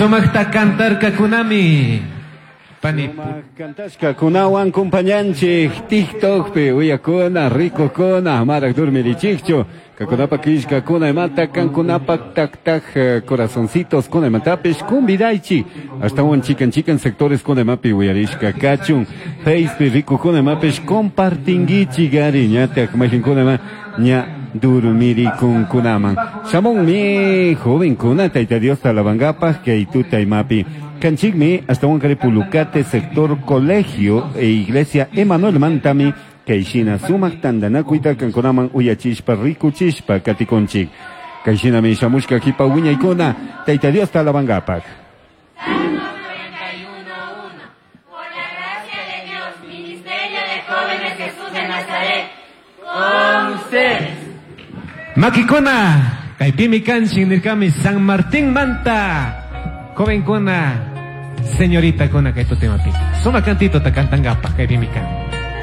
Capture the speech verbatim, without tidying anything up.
Sumaqta cantarkakunami. Pani Sumaq kunawan compañanchik TikTokpi uyakuna rikukuna amaraq durmirichikchu kakunapa killkakuna imata kankunapak tak tak eh, corazoncitos kuna imatapish kumbidaychik ashtawan chikan chikan sectores kuna imapi uyarishka kachun Facepi rikukuna imapish compartinguichik ari ñatak mayqinkuna ima ña durmirikunkunaman shamunmi jovenkuna Tayta Diosta alabankapaq kay tuta imapi Kanchikmi ashtawan kari Pulucate sector colegio e iglesia Emanuel Mantami kayshina sumaq tantanakuyta kankunaman uyachishpa rikuchishpa katikunchik kayshinami shamushka kipa wiñaykuna Tayta Diosta alabankapaq. Salmo noventa y uno, uno. Por la gracia de Dios, Ministerio de Jóvenes Jesús de Nazaret, con ustedes. Makikuna, kaypimi kanchik nirkami San Martín Manta. Jovenkuna, señorita kuna kay tutemapi. Suma cantito ta cantangapak kaypimi kan.